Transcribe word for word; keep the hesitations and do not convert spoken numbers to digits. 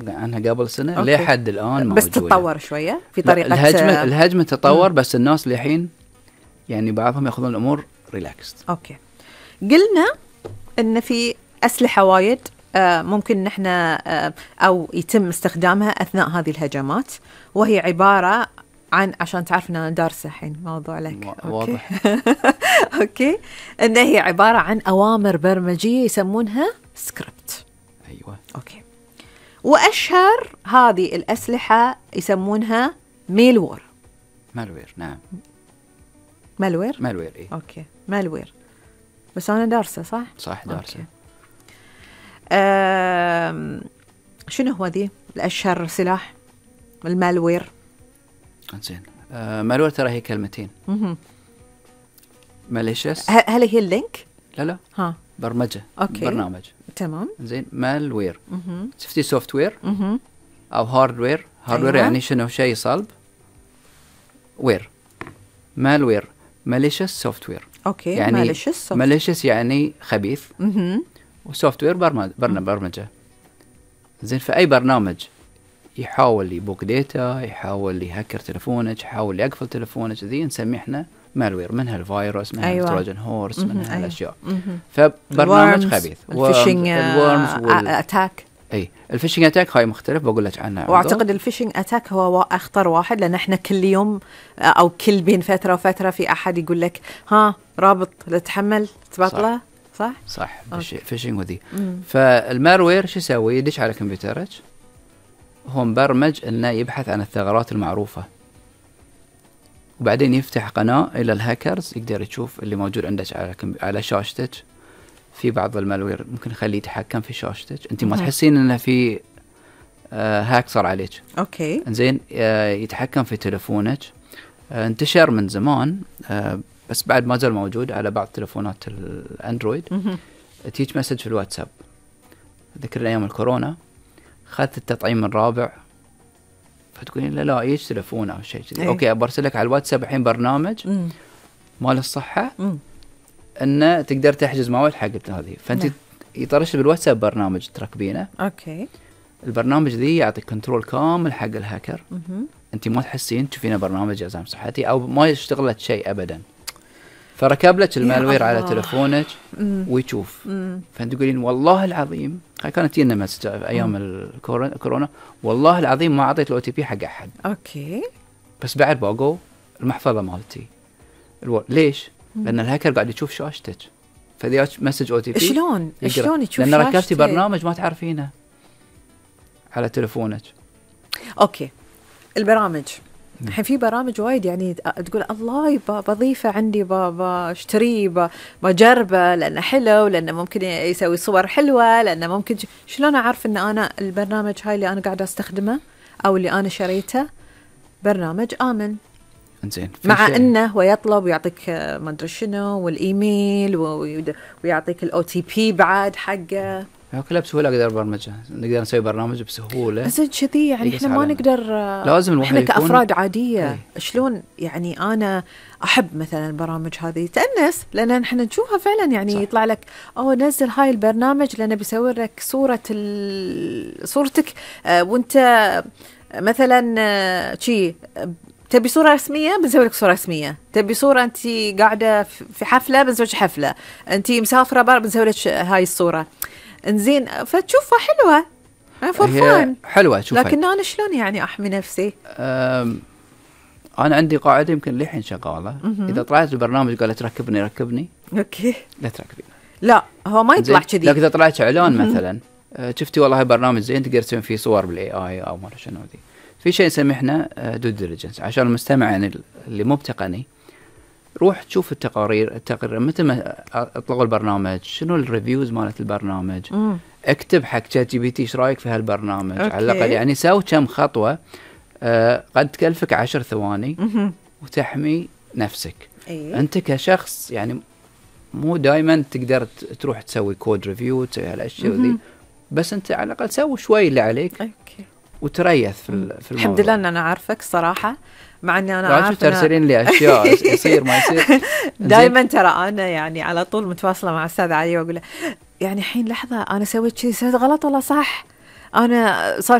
عنها قبل سنة لحد الآن موجودة، بس تتطور شوية في طريقة الهجمة. الهجمة تطور، مم. بس الناس لحين يعني بعضهم يأخذون الأمور ريلاكست. أوكي، قلنا إن في أسلحة وايد آه ممكن نحن آه أو يتم استخدامها أثناء هذه الهجمات، وهي عبارة عن، عشان تعرف أن أنا دارسة الحين موضوع لك. واضح. أوكي، إن هي عبارة عن أوامر برمجية يسمونها سكريبت. أيوة. أوكي، وأشهر هذه الأسلحة يسمونها ميلوير. مالوير، نعم. مالوير. مالوير، إيه. أوكي، مالوير. بس أنا دارسة صح؟ صح، دارسة. أم... شنو هو ذي الأشهر سلاح المالوير؟ زين، آه مالوير ترى هي كلمتين. ماليشيس. هل هي اللينك؟ لا لا، ها، برمجة. أوكي. برنامج. تمام. زين، مالوير. شفتي سوفت وير أو هاردوير؟ هاردوير أيوة. يعني شنو؟ شيء صلب. وير، مالوير، ماليشيس سوفت وير. أوكي، يعني ماليشيس. ماليشيس يعني خبيث. اها. وسوفت وير برمجة. برمجة. زين، في أي برنامج يحاول يبوك ديتا، يحاول يهكر تلفونك، يحاول يقفل تلفونك، ذي نسميه احنا مالوير. منها الفيروس، منها أيوة. التروجن هورس، منها أيوة. الأشياء. فبرنامج خبيث. الفيشنج وال... أتاك. اي، الفيشنج اتاك هاي مختلف، بقول لك عنها. واعتقد الفيشنج اتاك هو اخطر واحد، لان احنا كل يوم او كل بين فتره وفتره في احد يقول لك ها رابط تتحمل تبطله. صح صح, صح. فيشنج وذي. فالمالوير شو يسوي؟ يدش على كمبيوترك، هو مبرمج انه يبحث عن الثغرات المعروفه، وبعدين يفتح قناه الى الهاكرز، يقدر يشوف اللي موجود عندك على على شاشتك. في بعض المالوير ممكن يخليه يتحكم في شاشتك، انت ما تحسين انه في آه هاك صار عليك. اوكي، زين. آه يتحكم في تلفونك. آه انتشر من زمان، آه بس بعد ما زال موجود على بعض تلفونات الاندرويد. تيجي مسج في الواتساب. ذكر ايام الكورونا اخذت التطعيم الرابع، فتقولين لا لا ايش تلفون او شيء كذي. اوكي، برسلك على الواتساب الحين برنامج مم. مال الصحه مم. انه تقدر تحجز موعد حق هذه، فانت نعم. يطرش بالواتساب برنامج تركبينه. اوكي، البرنامج ذي يعطيك كنترول كامل حق الهاكر. مم. انت ما تحسين تشوفينه برنامج جزام صحتي او ما يشتغل لك شيء ابدا، فركب لك المالوير على تلفونك مم. ويشوف. مم. فانت تقولين والله العظيم، كانت تجينا مسج ايام الكورونا، والله العظيم ما اعطيت الاو تي بي حق احد. اوكي، بس بعد باقوا المحفظه مالتي. الو... ليش؟ مم. لان الهاكر قاعد يشوف شاشتك، فذي مسج او تي بي. شلون شلون يشوف لان شاشتك؟ ركبتي برنامج ما تعرفينه على تلفونك. اوكي، البرامج الحين في برامج وايد يعني تقول الله بضيفه عندي، بشتريه، بجربه لانه حلو، لانه ممكن يسوي صور حلوه، لانه ممكن. شلون اعرف ان انا البرنامج هاي اللي انا قاعده استخدمه او اللي انا شريته برنامج امن؟ زين، مع انه هو يطلب ويعطيك ما ادري شنو والايميل ويعطيك الاو تي بي بعد حقه. كلها بسهوله اقدر برمجها، نقدر نسوي برنامج بسهوله. بس كذي يعني احنا ما نقدر، لازم احنا كافراد عاديه. هي. شلون يعني انا احب مثلا البرامج هذه تأنس، لان احنا نشوفها فعلا يعني صح. يطلع لك اوه نزل هاي البرنامج لانه بيصور لك صوره صورتك آه وانت مثلا آه شي تبي صورة رسمية بنسوي لك صورة رسمية، تبي صورة أنت قاعدة في حفلة بنسوي لك حفلة، أنت مسافرة بار بنسوي لك هاي الصورة. انزين، فتشوفها حلوة فرفان حلوة تشوفها، لكن أنا شلون يعني أحمي نفسي؟ أنا عندي قاعدة يمكن لحين شغالة، إذا طلعت البرنامج قالت ركبني ركبني أوكي لا تركبين. لا هو ما يطلع كذي، لكن إذا طلعت إعلان مثلا شفتي والله هاي برنامج زين تقدر تسوي فيه صور بالاي اي او ما شنو ذي، في شيء نسميه احنا دو ديليجنس عشان المستمع يعني اللي مو بتقني، روح تشوف التقارير التقرير متى ما اطلقوا البرنامج، شنو الريفيوز مالت البرنامج، مم. اكتب حق شات جي بي تي ايش رايك في هالبرنامج أوكي. على الاقل يعني ساوي كم خطوه آه قد تكلفك عشر ثواني مم. وتحمي نفسك. أيه؟ انت كشخص يعني مو دائما تقدر تروح تسوي كود ريفيو تسوي هالاشياء ذي، بس انت على الاقل سوي شوي اللي عليك أوكي. وتريث في في الموضوع. الحمد لله ان انا عارفك صراحه، مع اني انا عارفه ترسلين لي اشياء يصير ما يصير دائما. ترى انا يعني على طول متواصله مع استاذ علي واقول له يعني الحين لحظه انا سويت شيء سويت غلط ولا صح، انا صار